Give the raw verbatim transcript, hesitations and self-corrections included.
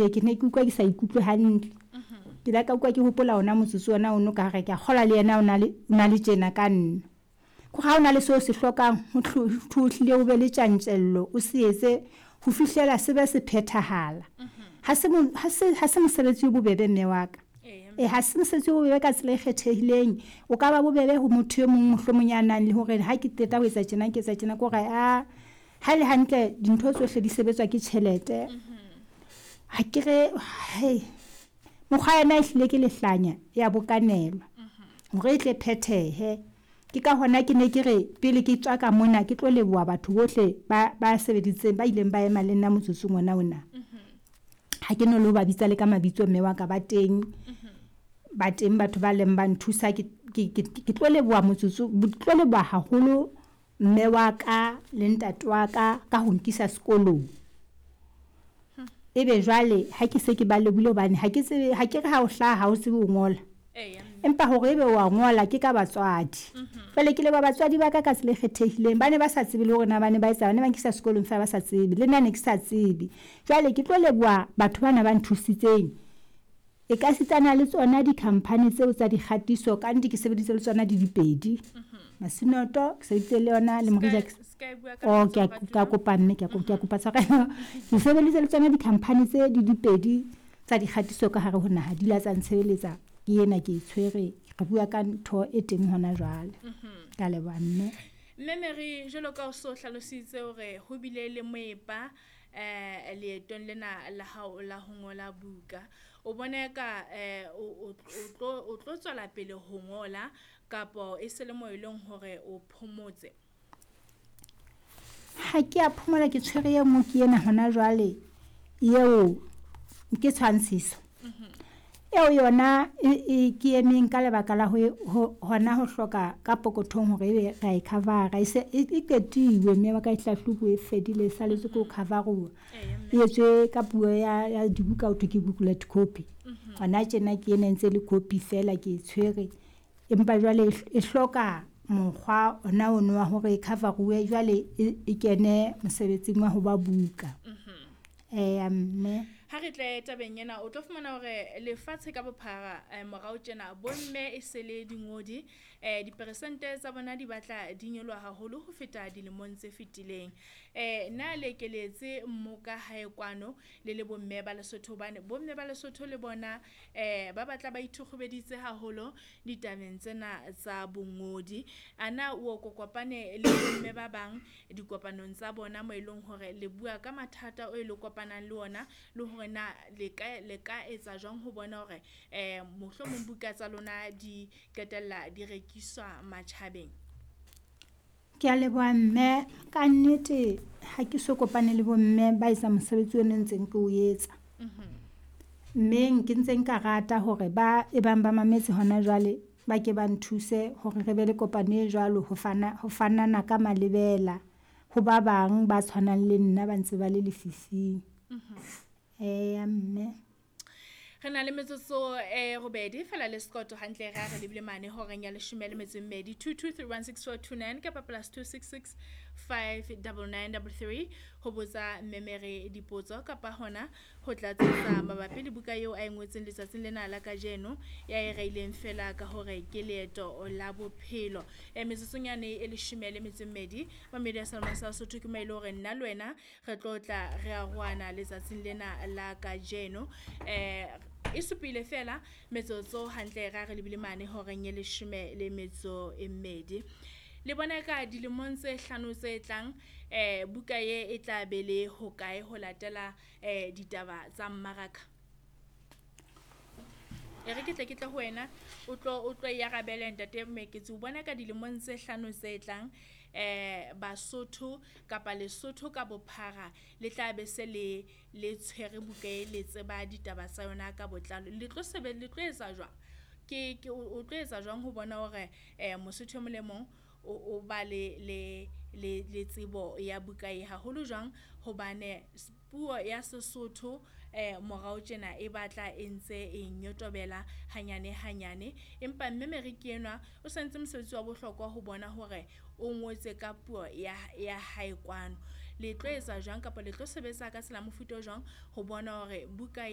Ke ne ke utlwa ke sa ikutlwe hantle. Ke la ka utlwa ke hopola ona motsotso ona ono ka hare ke a kgolwa le yena o na le o na le tjena ka nna. Ko ha ona le seo se hlokang ho hlile o be le tjantjello, o se etse ho fihlela se be se phethahala. Ha se ha se ha se mosebetsi o bobebe mme wa ka. E ha se mosebetsi o bobebe ka tsela e kgethehileng. O ka ba bobebe ho motho e mong mohlomong ya nang le hore ha ke qeta ho etsa tjena, ke etsa tjena ke hore a ha ele hantle dintho tsohle di sebetswa ke tjhelete. Ha ke re mokgwa yona e hlile ke lehlanya ya bokanelwa hore e tle phethehe. Ke ka hona ke ne ke re pele ke tswa ka mona ke tlo leboha batho bohle ba ba sebeditseng, ba ileng ba ema le nna motsotsong ona ona. Ha ke no lo ba bitsa le ka mabitso mme wa ka ba teng. Ba teng batho ba leng ba nthusa ke ke ke tlo leboha motsotso tlo leboha haholo mme wa ka le ntate wa ka ka ho nkisa sekolong. Ebe jwale ha ke se ke ba lebohile hobane ha ke tsebe ha ke re ha o hlaha ha o tsebe ho ngola. Empa hore ebe wa ngola ke ka batswadi. Jwale ke leboha batswadi ba ka ka tsela e kgethehileng. Ba ne ba sa tsebe le hore na ba ne ba etsa, ba ne ba nkisa sekolong fela ba sa tsebe. Le nna ne ke sa tsebe. Jwale ke tlo leboha batho bana ba nthusitseng. E ka sitana le tsona di-company tseo tsa dikgatiso ka nnete ke sebeditse le tsona di dipedi. Masinoto ke sebeditse le yona le Morija. Oh ke a kopa mme ke a kopa tshwarelo. Ke sebeditse le tsona di-company tse di dipedi tsa dikgatiso ka hare ho naha, di la tsa ntshebeletsa. Ke ena ke e tshwere, re bua ka ntho e teng hona jwale. Ka leboha mme. Mme Mary, jwalo ka o so hlalositse hore ho bile le moepa eh leetong lena la hao la ho ngola buka. O bona ka eh o tlo o tlo tswela pele ho ngola kapo e se le mo eleng hore o phomotse? Ha ke a phomola, ke tshwere e nngwe ke ena hona jwale eo ke tshwantshiso. Eo yona e ke emeng ka lebaka la ho hona ho hloka ka pokothong hore ebe ra e cover-a. E se e qetilwe mme wa ka e hlahlobuwe e fedile e salletswe ke ho cover-uwa. E etswe ka puo ya ya dibuka ho thwe ke booklet copy. Hona tjena ke ena e ntse le copy fela ke e tshwere. Empa jwale e hloka mokgwa ona ono wa hore e cover-uwe jwale e kene mosebetsing wa ho ba buka. Eya mme. Ha re tle tabeng ena o tlo fumana hore lefatshe ka bophara morao tjena bomme e se le dingodi eh diperesente tsa bona di batla di nyoloha haholo ho feta dilemong tse fetileng. Eh na le keletse mmoka hae kwano le le bomme ba Lesotho, hobane bomme ba Lesotho le bona eh ba batla ba ithukgubeditse haholo ditabeng tsena tsa bongodi. Ana o kopane le bomme ba bang dikopanong tsa bona mo eleng hore le bua ka mathata o e le kopanang le ona le hore na le ka le ka etsa jwang ho bona hore eh mohlomong buka tsa lona di qetella di rekiswa matjhabeng? Ke a leboha mme. Ka nnete ha ke so kopane le bomme ba etsa mosebetsi ono ntseng ke o etsa. Mme ke ntse nka rata hore ba e bang ba mametse hona jwale ba ke ba nthuse hore re be le kopano e jwalo ho fana ho fanana ka malebela ho ba bang ba tshwanang le nna ba ntse ba le lefifing. Eya mme. Re na le metsotso e robedi fela le sekoto hantle re re lebile mane horeng ya leshome le metso e mmedi. Two two three one six four two nine kapa plus two six six five double nine double three ho botsa Mme Mary dipotso kapa hona ho tlatsetsa mabapi le buka eo a e ngotseng letsatsing lena la kajeno ya e reileng fela ka hore ke leeto la bophelo. E metsotsong yane e leshome le metso e mmedi Mamedi ya Salma sa Sotho ke mo e le hore nna le wena re tlo tla re arohana letsatsing lena la kajeno. Eh e supile fela metsotso hantle ra re lebile mane horeng e leshome le metso e mmedi. Le bona ka dilemong tse hlano tse tlang eh buka ye e tla be le hokae ho latela eh ditaba tsa mmaraka? E re ke tle ke tle ho wena o tlo o tlo e arabele ntate Moeketsi. O bona ka dilemong tse hlano tse tlang eh Basotho kapa Lesotho ka bophara le tla be se le le tshwere buka e le tseba ditaba tsa yona ka botlalo. Le tlo sebe le tlo etsa jwang? Ke ke o tlo etsa jwang ho bona hore eh Mosotho e mong le mong o o ba le le le le tsebo ya buka e haholo jwang hobane puo ya Sesotho eh morao tjena e batla e ntse e nyotobela hanyane hanyane, empa Mme Mary ke enwa o sentse mosebetsi wa bohlokwa ho bona hore o ngotse ka puo ya ya hae kwano. Le tlo etsa jwang kapa le tlo sebetsa ka tsela mofuta o jwang ho bona hore buka